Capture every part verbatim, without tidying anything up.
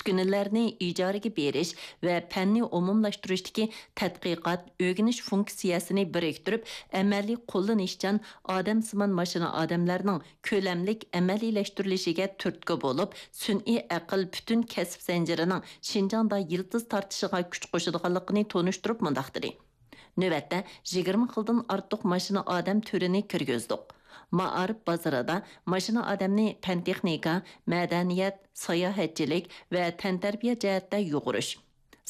ئۈسكۈنىلەرنى ئىجارىگە بېرىش ۋە پەننى ئومۇملاشتۇرۇشتىكى تەتقىقات، ئۆگىنىش فۇنكسىيەسىنى بىرىكتۈرۈپ، ئەمەلىي قوللىنىشچان ئادەمسىمان ماشىنا ئادەملەرنىڭ كۆلەملىك ئەمەلىيلەشتۈرۈلۈشىگە تۈرتكە بولۇپ، سۈنئىي ئەقىل پۈتۈن كەسىپ زەنجىرىنىڭ شىنجاڭدا يىلتىز تارتىشىغا كۈچ قوشىدىغانلىقىنى تونۇشتۇرۇپ مۇنداق دېدى: نۆۋەتتە يىگىرمە خىلدىن ئارتۇق ماشىنا ئادەم تۈرىنى كىرگۈزدۇق. مائارىپ بازىرىدا ماشىنا ئادەمنى پەن-تېخنىكا، مەدەنىيەت، ساياھەتچىلىك ۋە تەنتەربىيە جەھەتتە يۇغۇرۇش،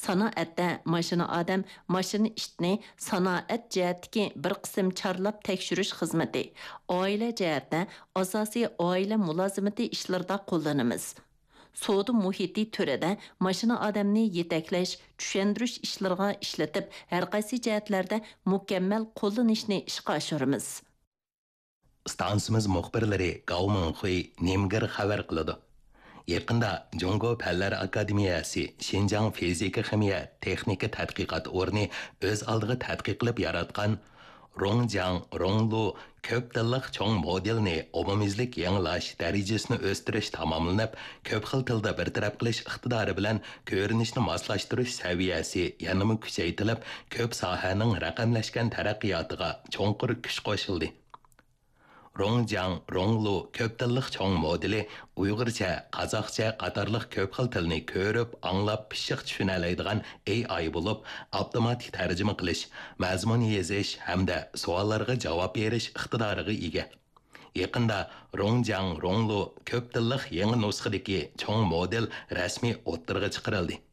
سانائەتتە ماشىنا ئادەم، ماشىنا ئىتنى سانائەت جەھەتتىكى بىر قىسىم چارلاپ تەكشۈرۈش خىزمىتى، ئائىلە جەھەتتە ئاساسىي ئائىلە مۇلازىمىتى ئىشلىرىدا قوللىنىمىز. سودا مۇھىتى تۈرىدە ماشىنا ئادەمنى يېتەكلەش، چۈشەندۈرۈش ئىشلىرىغا ئىشلىتىپ، ھەرقايسى جەھەتلەردە مۇكەممەل قوللىنىشنى ئىشقا ئاشۇرىمىز. ئىستانسىمىز مۇخبىرلىرى گاۋ مىڭخۇي نېمگېر خەۋەر قىلىدۇ. يېقىندا جۇڭگو پەنلەر ئاكادېمىيەسى شىنجاڭ فىزىكا خىمىيە تېخنىكا تەتقىقات ئورنى ئۆز ئالدىغا تەتقىق قىلىپ ياراتقان رۇڭجياڭ رۇڭلۇ كۆپ تىللىق چوڭ مودېلنى ئومۇميۈزلۈك يېڭىلاش، دەرىجىسىنى ئۆستۈرۈش تاماملىنىپ، كۆپ خىل تىلدا بىر تەرەپ قىلىش ئىقتىدارى بىلەن كۆرۈنۈشنى ماسلاشتۇرۇش سەۋىيەسى يەنىمۇ كۈچەيتىلىپ، كۆپ ساھەنىڭ رەقەملەشكەن تەرەققىياتىغا چوڭقۇر كۈچ قوشۇلدى. رۇڭجياڭ رۇڭلۇ كۆپ تىللىق چوڭ مودېلى ئۇيغۇرچە، قازاقچە قاتارلىق كۆپ خىل تىلنى كۆرۈپ، ئاڭلاپ، پىششىق چۈشىنەلەيدىغان ئېي ئاي بولۇپ، ئاپتوماتىك تەرجىمە قىلىش، مەزمۇن يېزىش ھەمدە سوئاللارغا جاۋاب بېرىش ئىقتىدارىغا ئىگە. يېقىندا رۇڭجياڭ رۇڭلۇ كۆپ تىللىق يېڭى نۇسخىدىكى چوڭ مودېل رەسمىي ئوتتۇرىغا چىقىرىلدى.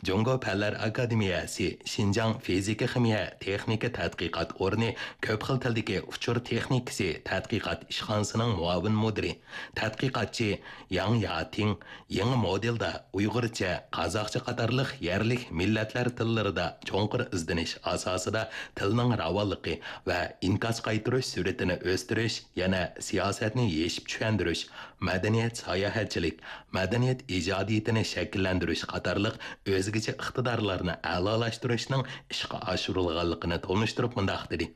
جۇڭگو پەنلەر ئاكادېمىيەسى شىنجاڭ فىزىكا خىمىيە تېخنىكا تەتقىقات ئورنى كۆپ خىل تىلدىكى ئۇچۇر تېخنىكىسى تەتقىقات ئىشخانىسىنىڭ مۇئاۋىن مۇدىرى، تەتقىقاتچى ياڭ ياتىڭ يېڭى مودېلدا ئۇيغۇرچە، قازاقچە قاتارلىق يەرلىك مىللەتلەر تىللىرىدا چوڭقۇر ئىزدىنىش ئاساسىدا تىلنىڭ راۋانلىقى ۋە ئىنكاس قايتۇرۇش سۈرئىتىنى ئۆستۈرۈش، يەنە سىياسەتنى يېشىپ چۈشەندۈرۈش، مەدەنىيەت ساياھەتچىلىك، مەدەنىيەت ئىجادىيىتىنى شەكىللەندۈرۈش قاتارلىق ئۆزگىچە ئىقتىدارلارنى ئەلالاشتۇرۇشنىڭ ئىشقا ئاشۇرۇلغانلىقىنى تونۇشتۇرۇپ مۇنداق دېدى: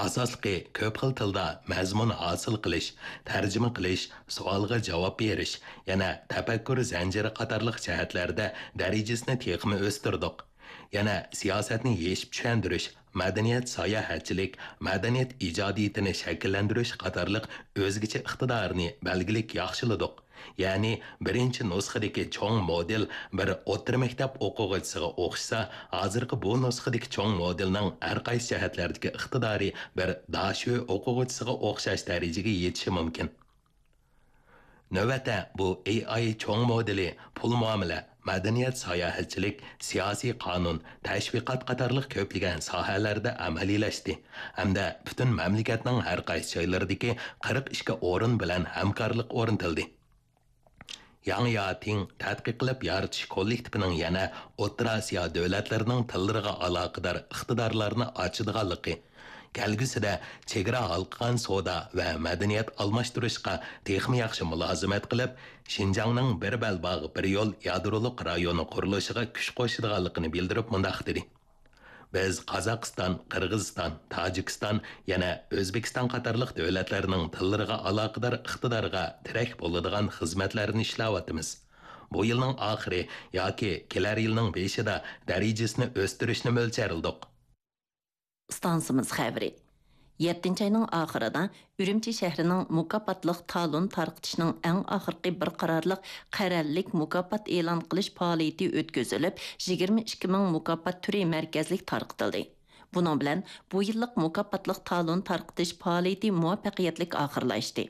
ئاساسلىقى كۆپ خىل تىلدا مەزمۇن ھاسىل قىلىش، تەرجىمە قىلىش، سوئالغا جاۋاب بېرىش، يەنە تەپەككۇر زەنجىرى قاتارلىق جەھەتلەردە دەرىجىسىنى تېخىمۇ ئۆستۈردۇق. يەنە سىياسەتنى يېشىپ چۈشەندۈرۈش، مەدەنىيەت ساياھەتچىلىك، مەدەنىيەت ئىجادىيىتىنى شەكىللەندۈرۈش قاتارلىق ئۆزگىچە ئىقتىدارنى بەلگىلىك ياخشىلىدۇق. يەنى بىرىنچى نۇسخىدىكى چوڭ مودېل بىر ئوتتۇرا مەكتەپ ئوقۇغۇچىسىغا ئوخشىسا، ھازىرقى بۇ نۇسخىدىكى چوڭ مودېلنىڭ ھەرقايسى جەھەتلەردىكى ئىقتىدارى بىر داشۆ ئوقۇغۇچىسىغا ئوخشاش دەرىجىگە يېتىشى مۇمكىن. نۆۋەتتە بۇ ئېي ئاي چوڭ مودېلى پۇل مۇئامىلە، مەدەنىيەت ساياھەتچىلىك، سىياسىي قانۇن، تەشۋىقات قاتارلىق كۆپلىگەن ساھەلەردە ئەمەلىيلەشتى ھەمدە پۈتۈن مەملىكەتنىڭ ھەرقايسى جايلىرىدىكى قىرىق ئىككى ئورۇن بىلەن ھەمكارلىق ئورنىتىلدى. ياڭ ياتىڭ تەتقىق قىلىپ يارىتىش كوللېكتىپىنىڭ يەنە ئوتتۇرا ئاسىيا دۆلەتلىرىنىڭ تىللىرىغا ئالاقىدار ئىقتىدارلارنى ئاچىدىغانلىقى، كەلگۈسىدە چېگرا ھالقىغان سودا ۋە مەدەنىيەت ئالماشتۇرۇشقا تېخىمۇ ياخشى مۇلازىمەت قىلىپ، شىنجاڭنىڭ بىر بەلباغ، بىر يول يادرولۇق رايونى قۇرۇلۇشىغا كۈچ قوشىدىغانلىقىنى بىلدۈرۈپ مۇنداق دېدى: بىز قازاقىستان، قىرغىزىستان، تاجىكىستان، يەنە ئۆزبېكىستان قاتارلىق دۆلەتلەرنىڭ تىللىرىغا ئالاقىدار ئىقتىدارغا تىرەك بولىدىغان خىزمەتلەرنى ئىشلەۋاتىمىز. بۇ يىلنىڭ ئاخىرى ياكى كېلەر يىلنىڭ بېشىدا دەرىجىسىنى ئۆستۈرۈشنى مۆلچەرلىدۇق. ئىستانسىمىز خەۋىرى. يەتتىنچى ئاينىڭ ئاخىرىدا ئۈرۈمچى شەھىرىنىڭ مۇكاپاتلىق تالون تارقىتىشنىڭ ئەڭ ئاخىرقى بىر قارارلىق قەرەللىك مۇكاپات ئېلان قىلىش پائالىيىتى ئۆتكۈزۈلۈپ، يىگىرمە ئىككى مىڭ مۇكاپات تۈرى مەركەزلىك تارقىتىلدى. بۇنىڭ بىلەن بۇ يىللىق مۇكاپاتلىق تالون تارقىتىش پائالىيىتى مۇۋەپپەقىيەتلىك ئاخىرلاشتى.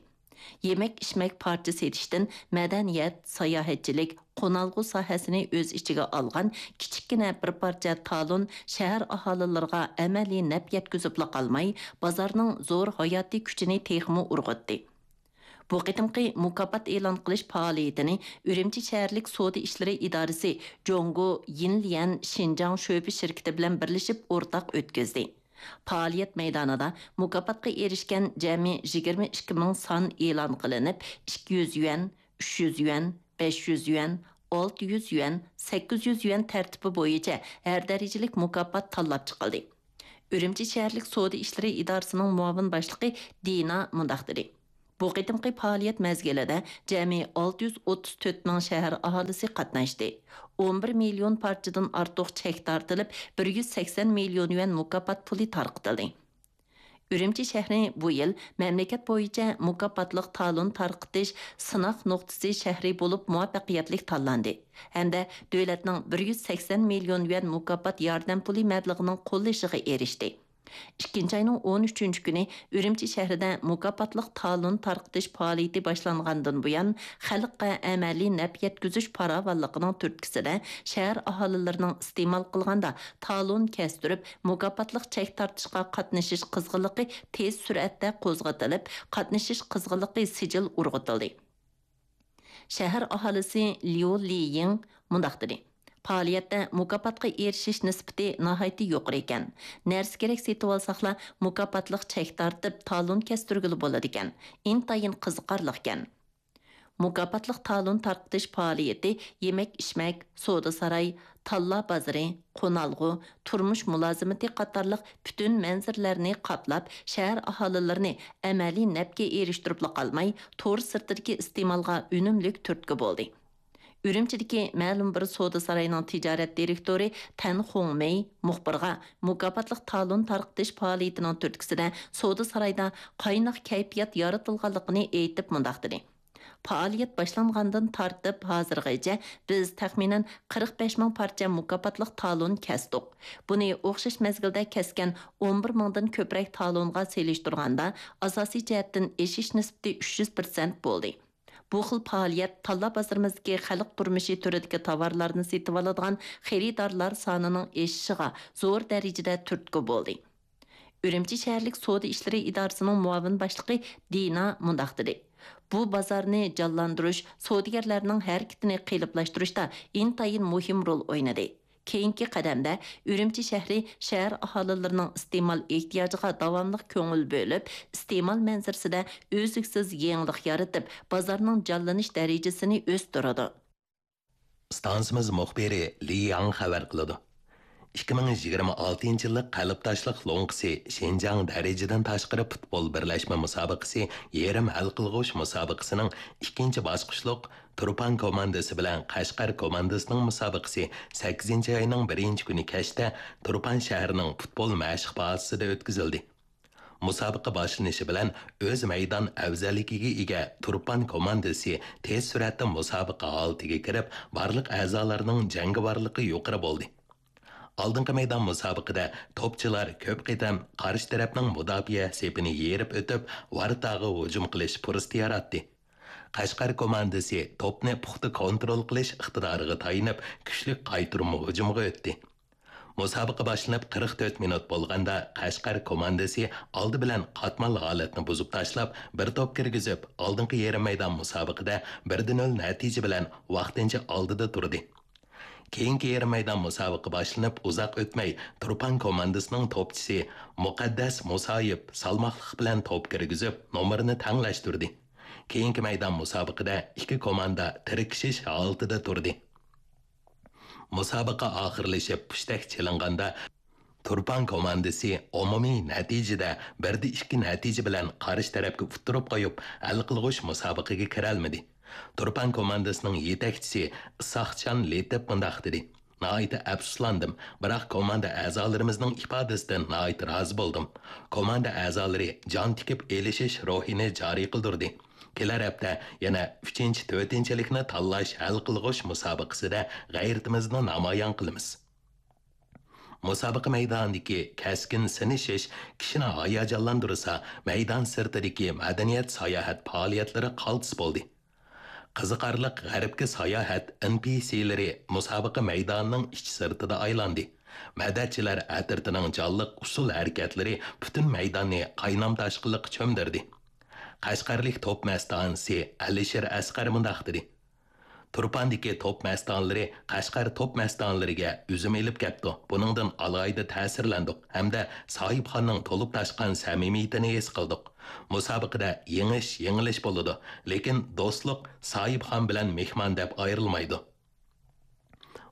يېمەك-ئىچمەك پارچە سېتىشتىن مەدەنىيەت، ساياھەتچىلىك، قونالغۇ ساھەسىنى ئۆز ئىچىگە ئالغان كىچىككىنە بىر پارچە تالون شەھەر ئاھالىلىرىغا ئەمەلىي نەپ يەتكۈزۈپلا قالماي، بازارنىڭ زور ھاياتىي كۈچىنى تېخىمۇ ئۇرغۇتتى. بۇ قېتىمقى مۇكاپات ئېلان قىلىش پائالىيىتىنى ئۈرۈمچى شەھەرلىك سودا ئىشلىرى ئىدارىسى جۇڭگو يىنليەن شىنجاڭ شۆبە شىركىتى بىلەن بىرلىشىپ ئورتاق ئۆتكۈزدى. پائالىيەت مەيدانىدا مۇكاپاتقا ئېرىشكەن جەمئىي يىگىرمە ئىككى مىڭ سان ئېلان قىلىنىپ، ئىككى يۈز يۈەن، ئۈچ يۈز يۈەن، بەش يۈز يۈەن، ئالتە يۈز يۈەن، سەككىز يۈز يۈەن تەرتىپى بويىچە ھەر دەرىجىلىك مۇكاپات تاللاپ چىقىلدى. ئۈرۈمچى شەھەرلىك سودا ئىشلىرى ئىدارىسىنىڭ مۇئاۋىن باشلىقى دىنا مۇنداق دېدى: بۇ قېتىمقى پائالىيەت مەزگىلىدە جەمئىي ئالتە يۈز ئوتتۇز تۆت مىڭ شەھەر ئاھالىسى قاتناشتى. ئون بىر مىليون پارچىدىن ئارتۇق چەك تارتىلىپ، بىر يۈز سەكسەن مىليون يۈەن مۇكاپات پۇلى تارقىتىلدى. ئۈرۈمچى شەھىرى بۇ يىل مەملىكەت بويىچە مۇكاپاتلىق تالون تارقىتىش سىناق نۇقتىسى شەھىرى بولۇپ مۇۋەپپەقىيەتلىك تاللاندى ھەمدە دۆلەتنىڭ بىر يۈز سەكسەن مىليون يۈەن مۇكاپات ياردەم پۇلى مەبلىغىنىڭ قوللىشىغا ئېرىشتى. ئىككىنچى ئاينىڭ ئون ئۈچىنچى كۈنى ئۈرۈمچى شەھىرىدە مۇكاپاتلىق تالون تارقىتىش پائالىيىتى باشلانغاندىن بۇيان، خەلققە ئەمەلىي نەپ يەتكۈزۈش پاراۋانلىقىنىڭ تۈرتكىسىدە، شەھەر ئاھالىلىرىنىڭ ئىستېمال قىلغاندا تالون كەستۈرۈپ، مۇكاپاتلىق چەك تارتىشقا قاتنىشىش قىزغىنلىقى تېز سۈرئەتتە قوزغىتىلىپ، قاتنىشىش قىزغىنلىقى سىجىل ئۇرغۇتۇلدى. شەھەر ئاھالىسى ليۇ لىيىڭ مۇنداق دېدى: پائالىيەتتە مۇكاپاتقا ئېرىشىش نىسبىتى ناھايىتى يۇقىرى ئىكەن. نەرسە-كېرەك سېتىۋالساقلا، مۇكاپاتلىق چەك تارتىپ، تالون كەستۈرگىلى بولىدىكەن. ئىنتايىن قىزىقارلىقكەن. مۇكاپاتلىق تالون تارقىتىش پائالىيىتى يېمەك-ئىچمەك، سودا-ساراي، تاللا بازىرى، قونالغۇ، تۇرمۇش مۇلازىمىتى قاتارلىق پۈتۈن مەنزىرىلەرنى قاپلاپ، شەھەر ئاھالىلىرىنى ئەمەلىي نەپكە ئېرىشتۈرۈپلا قالماي، تور سىرتىدىكى ئىستېمالغا ئۈنۈملۈك تۈرتكە بولدى. ئۈرۈمچىدىكى مەلۇم بىر سودا ساراينىڭ تىجارەت دىرېكتورى تەن خۇڭمېي مۇخبىرغا مۇكاپاتلىق تالون تارقىتىش پائالىيىتىنىڭ تۈرتكىسىدە سودا سارايدا قايناق كەيپىيات يارىتىلغانلىقىنى ئېيتىپ مۇنداق دېدى: پائالىيەت باشلانغاندىن تارتىپ ھازىرغىچە بىز تەخمىنەن قىرىق بەش مىڭ پارچە مۇكاپاتلىق تالون كەستۇق. بۇنى ئوخشاش مەزگىلدە كەسكەن ئون بىر مىڭدىن كۆپرەك تالونغا سېلىشتۇرغاندا، ئاساسىي جەھەتتىن ئېشىش نىسبىتى ئۈچ يۈز پىرسەنت بولدى. بۇ خىل پائالىيەت تاللا بازىرىمىزدىكى خەلق تۇرمۇشى تۈرىدىكى تاۋارلارنى سېتىۋالىدىغان خېرىدارلار سانىنىڭ ئېشىشىغا زور دەرىجىدە تۈرتكە بولدى. ئۈرۈمچى شەھەرلىك سودا ئىشلىرى ئىدارىسىنىڭ مۇئاۋىن باشلىقى دىنا مۇنداق دېدى: بۇ بازارنى جانلاندۇرۇش، سودىگەرلەرنىڭ ھەرىكىتىنى قېلىپلاشتۇرۇشتا ئىنتايىن مۇھىم رول ئوينىدى. كېيىنكى قەدەمدە ئۈرۈمچى شەھىرى شەھەر ئاھالىلىرىنىڭ ئىستېمال ئېھتىياجىغا داۋاملىق كۆڭۈل بۆلۈپ، ئىستېمال مەنزىرىسىدە ئۈزلۈكسىز يېڭىلىق يارىتىپ، بازارنىڭ جانلىنىش دەرىجىسىنى ئۆستۈرىدۇ. ئىستانسىمىز مۇخبىرى لى ياڭ خەۋەر قىلىدۇ. ئىككى مىڭ يىگىرمە ئالتىنچى يىللىق قەلبداشلىق لوڭقىسى شىنجاڭ دەرىجىدىن تاشقىرى پۇتبول بىرلەشمە مۇسابىقىسى يېرىم ھەل قىلغۇچ مۇسابىقىسىنىڭ ئىككىنچى باسقۇچلۇق تۇرپان كوماندىسى بىلەن قەشقەر كوماندىسىنىڭ مۇسابىقىسى سەككىزىنچى ئاينىڭ بىرىنچى كۈنى كەچتە تۇرپان شەھىرىنىڭ پۇتبول مەشىق بازىسىدا ئۆتكۈزۈلدى. مۇسابىقە باشلىنىشى بىلەن ئۆز مەيدان ئەۋزەللىكىگە ئىگە تۇرپان كوماندىسى تېز سۈرئەتتە مۇسابىقە ھالىتىگە كىرىپ، بارلىق ئەزالارنىڭ جەڭگىۋارلىقى يۇقىرى بولدى. ئالدىنقى مەيدان مۇسابىقىدە توپچىلار كۆپ قېتىم قارشى تەرەپنىڭ مۇداپىئە سېپىنى يېرىپ ئۆتۈپ، ۋارىتاغا ھۇجۇم قىلىش پۇرسىتى ياراتتى. قەشقەر كوماندىسى توپنى پۇختا كونترول قىلىش ئىقتىدارىغا تايىنىپ، كۈچلۈك قايتۇرما ھۇجۇمغا ئۆتتى. مۇسابىقە باشلىنىپ قىرىق تۆت مىنۇت بولغاندا، قەشقەر كوماندىسى ئالدى بىلەن قاتمال ھالەتنى بۇزۇپ تاشلاپ، بىر توپ كىرگۈزۈپ، ئالدىنقى يېرىم مەيدان مۇسابىقىدە بىر دە نۆل نەتىجە بىلەن ۋاقتىنچە ئالدىدا تۇردى. كېيىنكى يېرىم مەيدان مۇسابىقە باشلىنىپ ئۇزاق ئۆتمەي، تۇرپان كوماندىسىنىڭ توپچىسى مۇقەددەس مۇسايىپ سالماقلىق بىلەن توپ كىرگۈزۈپ، نومۇرىنى تەڭلەشتۈردى. كېيىنكى مەيدان مۇسابىقىدە ئىككى كوماندا تىركىشىش ھالىتىدە تۇردى. مۇسابىقە ئاخىرلىشىپ پۇشتەك چېلىنغاندا، تۇرپان كوماندىسى ئومۇمىي نەتىجىدە بىر دە ئىككى نەتىجە بىلەن قارشى تەرەپكە ئۇتتۇرۇپ قويۇپ، ھەل قىلغۇچ مۇسابىقىگە كىرەلمىدى. تۇرپان كوماندىسىنىڭ يېتەكچىسى ئىساقچان لېتىپ مۇنداق دېدى: ناھايىتى ئەپسۇسلاندىم، بىراق كوماندا ئەزالىرىمىزنىڭ ئىپادىسىدىن ناھايىتى رازى بولدۇم. كوماندا ئەزالىرى جان تىكىپ ئېلىشىش روھىنى جارى قىلدۇردى. كېلەر ھەپتە يەنە ئۈچىنچى، تۆتىنچىلىكنى تاللاش ھەل قىلغۇچ مۇسابىقىسىدە غەيرىتىمىزنى نامايان قىلىمىز. مۇسابىقە مەيدانىدىكى كەسكىن سىنىشىش كىشىنى ھاياجانلاندۇرسا، مەيدان سىرتىدىكى مەدەنىيەت ساياھەت پائالىيەتلىرى قالتىس بولدى. قىزىقارلىق غەربكە ساياھەت ئېنپىسىلىرى مۇسابىقە مەيدانىنىڭ ئىچ سىرتىدا ئايلاندى. مەدەتچىلەر ئەترىتىنىڭ جانلىق ئۇسسۇل ھەرىكەتلىرى پۈتۈن مەيداننى قاينام-تاشقىنلىققا چۆمدۈردى. قەشقەرلىك توپ مەستانىسى ئەلىشىر ئەسقەر مۇنداق دېدى: تۇرپاندىكى توپ مەستانىلىرى قەشقەر توپ مەستانىلىرىگە ئۈزۈم ئېلىپ كەپتۇ. بۇنىڭدىن ئالاھىدە تەسىرلەندۇق ھەمدە ساھىبخاننىڭ تولۇپ تاشقان سەمىمىيىتىنى ھېس قىلدۇق. مۇسابىقىدە يېڭىش، يېڭىلىش بولىدۇ، لېكىن دوستلۇق ساھىبخان بىلەن مېھمان دەپ ئايرىلمايدۇ.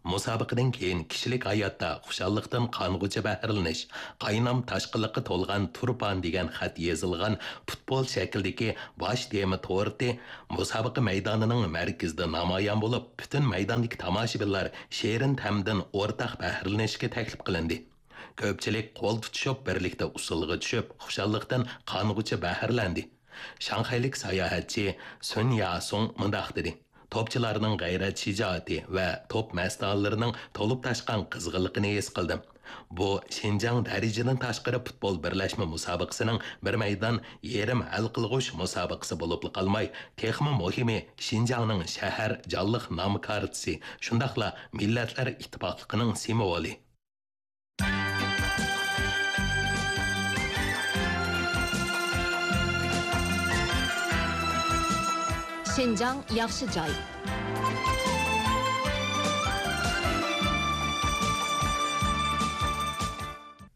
مۇسابىقىدىن كېيىن كىشىلىك ھاياتتا خۇشاللىقتىن قانغۇچە بەھرىلىنىش، قاينام تاشقىنلىققا تولغان تۇرپان دېگەن خەت يېزىلغان پۇتبول شەكلىدىكى باش تېما تورتى مۇسابىقە مەيدانىنىڭ مەركىزىدە نامايان بولۇپ، پۈتۈن مەيداندىكى تاماشىبىنلار شېرىن تەمدىن ئورتاق بەھرىلىنىشكە تەكلىپ قىلىندى. كۆپچىلىك قول تۇتۇشۇپ، بىرلىكتە ئۇسسۇلغا چۈشۈپ، خۇشاللىقتىن قانغۇچە بەھرىلەندى. شاڭخەيلىك ساياھەتچى سۈن ياسۇڭ مۇنداق دېدى: توپچىلارنىڭ غەيرەت شىجائىتى ۋە توپ مەستانىلىرىنىڭ تولۇپ تاشقان قىزغىنلىقىنى ھېس قىلدىم. بۇ شىنجاڭ دەرىجىدىن تاشقىرى پۇتبول بىرلەشمە مۇسابىقىسىنىڭ بىر مەيدان يېرىم ھەل قىلغۇچ مۇسابىقىسى بولۇپلا قالماي، تېخىمۇ مۇھىمى، شىنجاڭنىڭ شەھەر جانلىق نام كارتىسى، شۇنداقلا مىللەتلەر ئىتتىپاقلىقىنىڭ سىمۋولى. شىنجاڭ ياخشى جاي.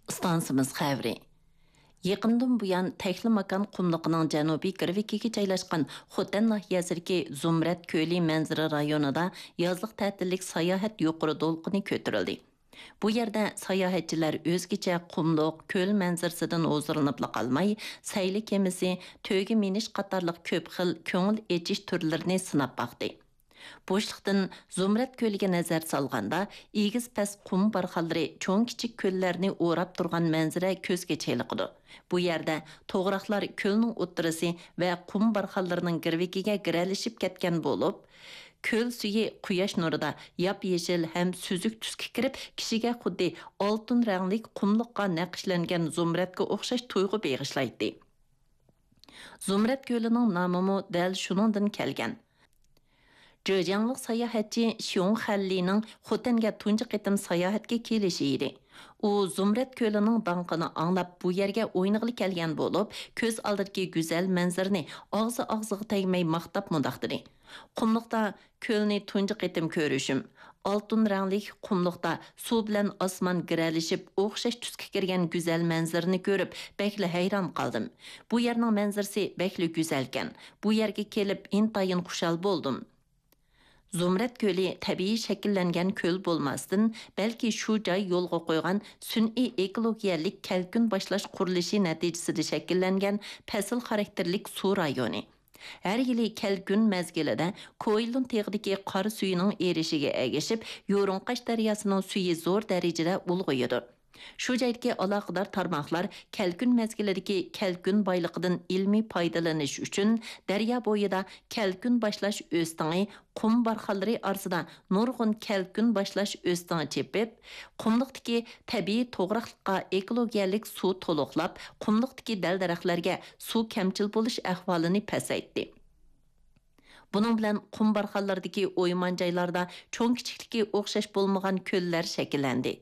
ئىستانسىمىز خەۋىرى. يېقىندىن بۇيان، تەكلىماكان قۇملۇقىنىڭ جەنۇبىي گىرۋىكىگە جايلاشقان خوتەن ناھىيەسىدىكى زۇمرەت كۆلى مەنزىرە رايونىدا يازلىق تەتىللىك ساياھەت يۇقىرى دولقۇنى كۆتۈرۈلدى. بۇ يەردە ساياھەتچىلەر ئۆزگىچە قۇملۇق، كۆل مەنزىرىسىدىن ھۇزۇرلىنىپلا قالماي، سەيلە كېمىسى، تۆگە مىنىش قاتارلىق كۆپ خىل كۆڭۈل ئېچىش تۈرلىرىنى سىناپ باقتى. بوشلۇقتىن زۇمرەت كۆلىگە نەزەر سالغاندا، ئېگىز پەس قۇم بارخانلىرى چوڭ كىچىك كۆللەرنى ئوراپ تۇرغان مەنزىرە كۆزگە چېلىقىدۇ. بۇ يەردە توغراقلار كۆلنىڭ ئوتتۇرىسى ۋە قۇم بارخانلىرىنىڭ گىرۋىكىگە گىرەلىشىپ كەتكەن بولۇپ، كۆل سۈيى قۇياش نۇرىدا ياپيېشىل ھەم سۈزۈك تۈسكە كىرىپ، كىشىگە خۇددى ئالتۇن رەڭلىك قۇملۇققا نەقىشلەنگەن زۇمرەتكە ئوخشاش تۇيغۇ بېغىشلايتتى. زۇمرەت كۆلىنىڭ نامىمۇ دەل شۇنىڭدىن كەلگەن. جېجياڭلىق ساياھەتچى شيۇڭ خەنلىنىڭ خوتەنگە تۇنجى قېتىم ساياھەتكە كېلىشى ئىدى. ئۇ زۇمرەت كۆلىنىڭ داڭقىنى ئاڭلاپ، بۇ يەرگە ئوينىغىلى كەلگەن بولۇپ، كۆز ئالدىدىكى گۈزەل مەنزىرىنى ئاغزى-ئاغزىغا تەگمەي ماختاپ مۇنداق دېدى: قۇملۇقتا كۆلنى تۇنجى قېتىم كۆرۈشۈم. ئالتۇن رەڭلىك قۇملۇقتا سۇ بىلەن ئاسمان گىرەلىشىپ، ئوخشاش تۈسكە كىرگەن گۈزەل مەنزىرىنى كۆرۈپ، بەكلا ھەيران قالدىم. بۇ يەرنىڭ مەنزىرىسى بەكلا گۈزەلكەن. بۇ يەرگە كېلىپ، ئىنتايىن خۇشال بولدۇم. زۇمرەت كۆلى تەبىئىي شەكىللەنگەن كۆل بولماستىن، بەلكى شۇ جاي يولغا قويغان سۈنئىي ئېكولوگىيەلىك كەلكۈن باشلاش قۇرۇلۇشى نەتىجىسىدە شەكىللەنگەن پەسىل خاراكتېرلىك سۇ رايونى. ھەر يىلى كەلكۈن مەزگىلىدە كوئىلۇن تېغىدىكى قار سۈيىنىڭ ئېرىشىگە ئەگىشىپ، يورۇڭقاش دەرياسىنىڭ سۈيى زور دەرىجىدە ئۇلغىيىدۇ. شۇ جايدىكى ئالاقىدار تارماقلار كەلكۈن مەزگىلىدىكى كەلكۈن بايلىقىدىن ئىلمىي پايدىلىنىش ئۈچۈن، دەريا بويىدا كەلكۈن باشلاش ئۆستىڭى، قۇم بارخانلىرى ئارىسىدا نۇرغۇن كەلكۈن باشلاش ئۆستىڭى چېپىپ، قۇملۇقتىكى تەبىئىي توغراقلىققا ئېكولوگىيەلىك سۇ تولۇقلاپ، قۇملۇقتىكى دەل-دەرەخلەرگە سۇ كەمچىل بولۇش ئەھۋالىنى پەسەيتتى. بۇنىڭ بىلەن قۇم بارخانلىرىدىكى ئويمان جايلاردا چوڭ-كىچىكلىكى ئوخشاش بولمىغان كۆللەر شەكىللەندى.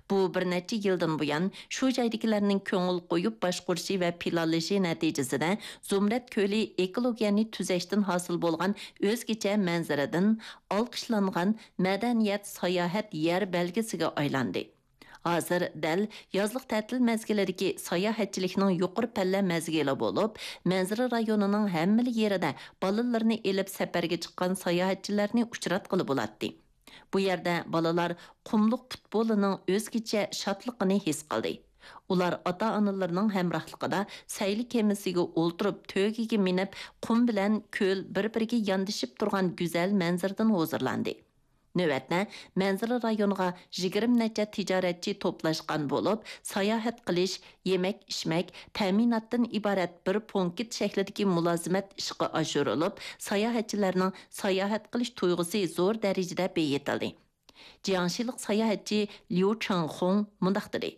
بۇ بىر نەچچە يىلدىن بۇيان شۇ جايدىكىلەرنىڭ كۆڭۈل قويۇپ باشقۇرۇشى ۋە پىلانلىشى نەتىجىسىدە، زۇمرەت كۆلى ئېكولوگىيەنى تۈزەشتىن ھاسىل بولغان ئۆزگىچە مەنزىرىدىن ئالقىشلانغان مەدەنىيەت، ساياھەت يەر بەلگىسىگە ئايلاندى. ھازىر دەل يازلىق تەتىل مەزگىلىدىكى ساياھەتچىلىكنىڭ يۇقىرى پەللە مەزگىلى بولۇپ، مەنزىرە رايونىنىڭ ھەممىلا يېرىدە بالىلىرىنى ئېلىپ سەپەرگە چىققان ساياھەتچىلەرنى ئۇچراتقىلى بولاتتى. بۇ يەردە بالىلار قۇملۇق پۇتبولىنىڭ ئۆزگىچە شادلىقىنى ھېس قىلدى. ئۇلار ئاتا-ئانىلىرىنىڭ ھەمراھلىقىدا سەيلە كېمىسىگە ئولتۇرۇپ، تۆگىگە مىنىپ، قۇم بىلەن كۆل بىر-بىرىگە ياندىشىپ تۇرغان گۈزەل مەنزىرىدىن ھۇزۇرلاندى. نۆۋەتتە، مەنزىرە رايونىغا يىگىرمە نەچچە تىجارەتچى توپلاشقان بولۇپ، ساياھەت قىلىش، يېمەك-ئىچمەك، تەمىناتتىن ئىبارەت بىر پونكىت شەكلىدىكى مۇلازىمەت ئىشقا ئاشۇرۇلۇپ، ساياھەتچىلەرنىڭ ساياھەت قىلىش تۇيغۇسى زور دەرىجىدە بېيىتىلدى. جياڭشىلىق ساياھەتچى ليۇ چېڭخۇڭ مۇنداق دېدى: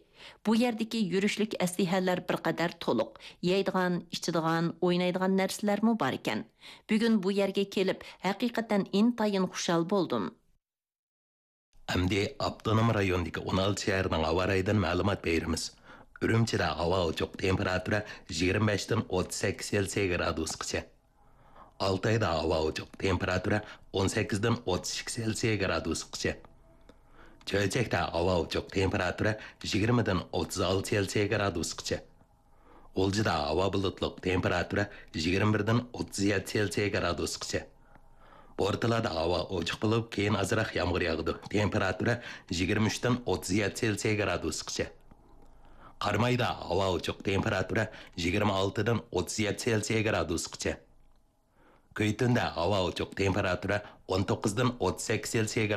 بۇ يەردىكى يۈرۈشلۈك ئەسلىھەلەر بىر قەدەر تولۇق، يەيدىغان، ئىچىدىغان، ئوينايدىغان نەرسىلەرمۇ باركەن. بۈگۈن بۇ يەرگە كېلىپ، ھەقىقەتەن ئىنتايىن خۇشال بولدۇم. ئەمدى ئاپتونوم رايوندىكى ئون ئالتە شەھەرنىڭ ھاۋا رايىدىن مەلۇمات بېرىمىز. ئۈرۈمچىدە ھاۋا ئوچۇق، تېمپېراتۇرا يىگىرمە بەشتىن ئوتتۇز سەككىز سېلسىيە گرادۇسقىچە. ئالتايدا ھاۋا ئوچۇق، تېمپېراتۇرا ئون سەككىزدىن ئوتتۇز ئىككى سېلسىيە گرادۇسقىچە. چۆچەكتە ھاۋا ئوچۇق، تېمپېراتۇرا يىگىرمىدىن ئوتتۇز ئالتە سېلسىيە گرادۇسقىچە. غۇلجىدا ھاۋا بۇلۇتلۇق، تېمپېراتۇرا يىگىرمە بىردىن ئوتتۇز يەتتە سېلسىيە گرادۇسقىچە. بورتالادا ھاۋا ئوچۇق بولۇپ، كېيىن ئازراق يامغۇر ياغىدۇ. تېمپېراتۇرا يىگىرمە ئۈچتىن ئوتتۇز يەتتە سېلسىيە گرادۇسقىچە. قارامايدا ھاۋا ئوچۇق، تېمپېراتۇرا يىگىرمە ئالتىدىن ئوتتۇز يەتتە سېلسىيە گرادۇسقىچە. كۈيتۈندە ھاۋا ئوچۇق، تېمپېراتۇرا ئون توققۇزدىن ئوتتۇز سەككىز سېلسىيە